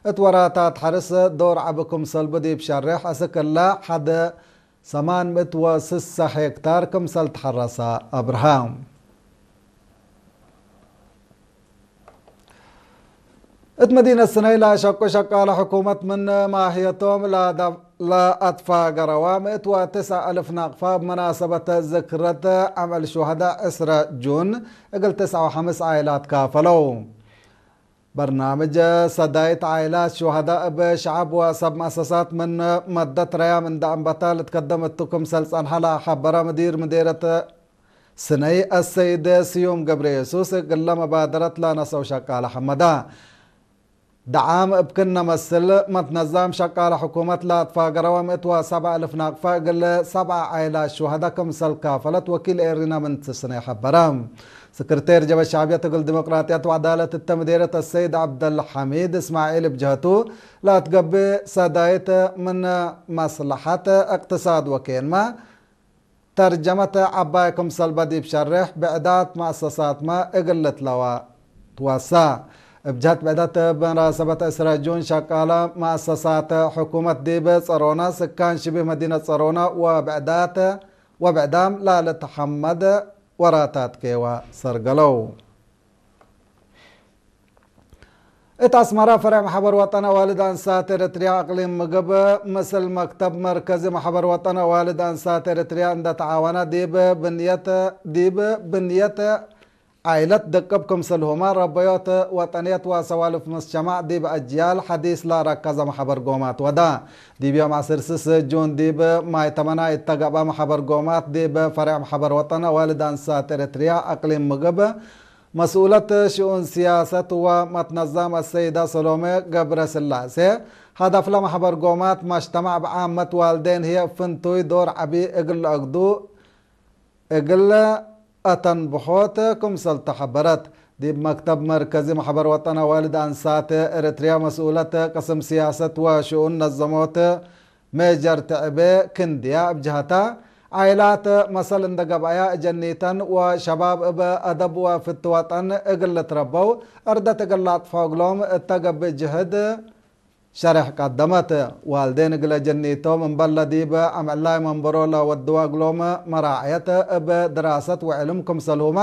እት ወራታት ሐርስ ዶር ዐቢ ክምሰል ብዲብ ሸሬሕ እስክላ ሐደ ሰማን ምእት ወስሳ ሄክታር ክምሰል ተሐረሳ ኣብርሃ። እት መዲነት ስነይ ለአሸቁ ሸቃለ ሕኩመት ምን ማህየቶም ለአዳ-፣ ለአጥፋ ገረዋ ምእት ወትስዓ እልፍ ናቅፋ እብ መናሰበት ዝክረት ዐምዕል ሹሀዳ ዕስረ ጁን እግል ትስዓ ወሐምስ ዓይላት ካፈለው። በርናምጅ ሰዳይት ዓይላት ሹሀዳ እብ ሸዐብ ወሰብ መአሰሳት ምን መደት ረያም እንዳ አንበታ ልትከደም እቱ ክምሰል ጸንሐ ለአሐበረ ምዲር ምዴረት ስነይ አሰይድ ስዩም ገብረየሱስ እግለ መባደረት ለነሰው ሸቃለ ሐመዳ። ደዓም እብ ክነ መስል መትነዛም ሸቃለ ሕኩመት ለአትፋገረወ ምእት ወሰብዓ እልፍ ናቅፋ እግል ሰብዓ ዓይላት ሹሀዳ ክምሰል ካፈለት ወኪል ኤሪና ምን ስነይ ሐበረ። ስክርቴር ጀበ ሻዕብየት እግል ዲሞቅራጥየት ወዐዳለት እተ ምዴረት አሰይድ ዐብደልሐሚድ እስማዒል እብ ጀህቱ ለአትገብእ ሰዳይት ምን መስለሐት እቅትሳድ ወኬንማ ተርጀመት ዐባይ ክምሰልበ ዲብ ሸሬሕ ብዕዳት መአሰሳትመ እግል ልትለዋ ትወሳ። እብ ጀህት ብዕዳት እብ መናሰበት ዕስረ ጁን ሸቃለ መአሰሳት ሕኩመት ዲብ ጸሮና ስካን ሽቢህ መዲነት ጸሮና ወብዕዳት ወብዕዳም ላልትሐመድ ወራታት ኬዋ ሰርገለው። እት አስመራ ፈርዕ ማሕበር ወጠን አዋልድ አንሳት ኤረትርያ አቅሊም ምግብ ምስል መክተብ መርከዚ ማሕበር ወጠን አዋልድ አንሳት ኤረትርያ እንደ ተዓወነ ዲብ ብንየት፣ ዲብ ብንየት ዓይለት ደቅብ ክምስልሁመ ረበዮት ወጠንየት ወሰዋልፍ ምስሸማዕ ዲብ አጅያል ሐዲስ ለረከዘ ማሕበር ጎማት ወዳ። ዲብ ዮም ዐስር ስስ ጁን ዲብ ማይ ተመና ይተገብአ ማሕበር ጎማት ዲብ ፈርዕ ማሕበር ወጠን አዋልድ አንሳት ኤረትርያ አቅሊም ምግብ መስኡለት ሽኡን ሲያሰት ወመትነዛም አሰይዳ ሰሎሜ ገብረስላሴ፣ ሀደፍ ለማሕበር ጎማት መጅተማዕ ብዓመት ዋልዴን ህዬ ፍንቱይ ዶር ዐቢ እግል ለአግዱ እግል አተንብሖት ክምሰል ተሐበረት። ዲብ መክተብ መርከዚ ማሕበር ወጠን አዋልድ አንሳት ኤረትርያ መስኡለት ቅስም ሲያሰት ወሽኡን ነዘሞት ሜጀር ትዕቤ ክንድያ እብ ጀሀታ፣ ዓይላት መሰል እንደ ገብአያ እጀኒተን ወሸባብ እብ አደብ ወፍቲ ወጠን እግል ልትረበው፣ እርደት እግል ለአጥፍኦ እግሎም እተ ገብእ ጅህድ ሸሬሕ ቀደመት። ዋልዴን እግለ ጀኒቶም እምበል ለዲብ አምዕላይ መንበሮ ለወድዋ እግሎም መራዕየት እብ ድራሰት ወዕልም ክምሰልሁመ፣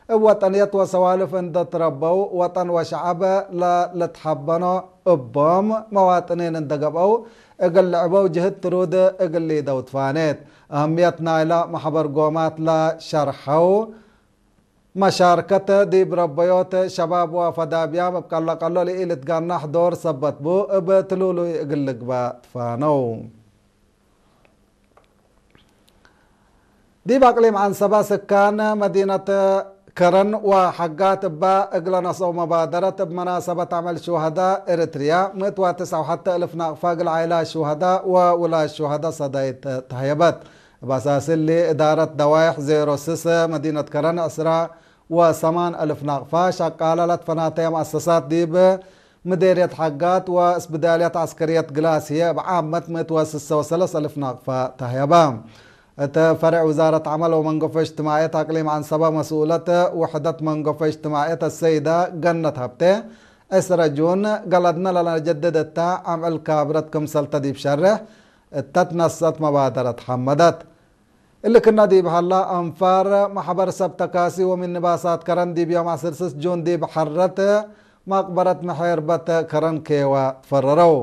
እብ ወጠንየት ወሰዋልፍ እንደ ትረበው፣ ወጠን ወሸዐብ ለልትሐበኖ እቦም መዋጥኒን እንደ ገብአው፣ እግል ልዕበው ጅህድ ትሩድ እግል ሊደው ትፋኔት። አህምየት ናይላ መሕበር ጎማት ለሸርሐው፣ መሻርከት ዲብ ረበዮት ሸባብ ወፈዳብያም እብ ቀሎ ቀሎ ለኢልትጋናሕ ዶር ሰበት ቡ፣ እብ ትሉሉይ እግል ልግባእ ትፋነው። ዲብ አቅሊም ዐንሰባ ስካን መዲነት ከረን ወሐጋት እባ እግለ ነስኦ መባደረት እብ መናሰበት ዐመል ሹሀዳ ኤረትርያ ምእት ወትስዓ ወሐተ እልፍ ናቅፋ እግል ዓይላት ሹሀዳ ወውላድ ሹሀዳ ሰዳይት ተህየበት። እብ አሳሲ እሊ እዳረት ደዋይሕ ዜሮ ስስ መዲነት ከረን ዕስራ ወሰማን እልፍ ናቅፋ ሸቃለ ለትፈናተየ መአሰሳት ዲብ ምዴርየት ሐጋት ወእስብዳልየት ዐስከርየት ግላስ ህዬ እብ ዓመት ምእት ወስሰ ወሰለስ እልፍ ናቅፋ ተህየበ። እት ፈርዕ ውዛረት ዐመል ወመንገፎ እጅትማዕየት አቅሊም ዐንሰባ መስኡለት ውሕደት መንገፎ እጅትማዕየት አሰይዳ ገነት ሀብቴ፣ ዕስረ ጁን ገለድነ ለነጀድድ እታ አምዕል ካብረት ክምሰልተ ዲብ ሸርሕ እተ ትነሰት መባደረት ሐመደት። እሊ ክነ ዲብ ሀላ፣ አንፋር መሕበር ሰብ ተካሲ ወሚኒባሳት ከረን ዲብ ዮም ዐስር ስስ ጁን ዲብ ሐረት መቅበረት መሔርበት ከረን ኬዋ ትፈረረው።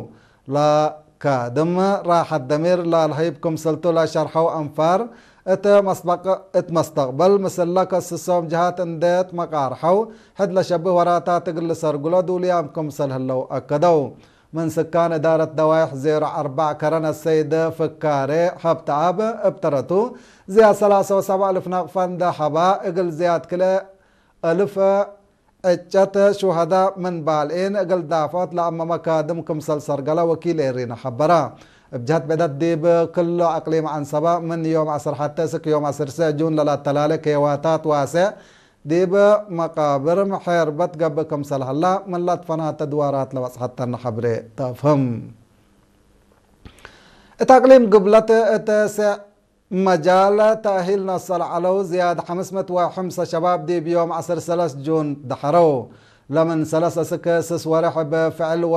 ለካድም ራሐት ደሚር ለልሀይብ ክምሰልቱ ለሸርሐው አንፋር፣ እት መስበቅ-፣ እት መስተቅበል ምስለ ከስሶም ጀሃት እንዴ ትመቃርሐው፣ ሕድ ለሸብህ ወራታት እግል ልሰርግሎ ዱልያም ክምሰል ህለው አከደው። ምን ስካን እዳረት ደዋይሕ ዜሮ አርበዕ ከረን አሰይድ ፍካሬ ሀብተአብ እብ ተረቱ፣ ዝያድ ሰላሳ ወሰብዓ እልፍ ናቅፋ እንደ ሀባ፣ እግል ዝያድ ክልኤ እልፍ ዕጨት ሹሀዳ ምን ባልዒን እግል ዳፍዖት ለአመመ ካድም ክምሰል ሰርገለ ወኪል ኤሪና ሐበረ። እብ ጀህት ብዕደት ዲብ ክሉ አቅሊም ዐንሰባ ምን ዮም ዐስር ሐተ እስክ ዮም ዐስር ሴዕ ጁን ለለአተላሌ ኬዋታት ዋሴዕ ዲብ መቃብር ሔርበት ገብእ ክምሰል ሀላ፣ ምን ለትፈናተ ድዋራት ለበጽሐተነ ሐብሬ ተፍህም። እት አቅሊም ግብለት እት ሴዕ መጃል ተእሂል ነሰል ዐለው ዝያድ ሐምስ ምእት ወሐምሳ ሸባብ ዲብ ዮም ዐስር ሰለስ ጁን ደሐረው። ለምን ሰለስ እስክ ስስ ወርሕ እብ ፍዕል ወ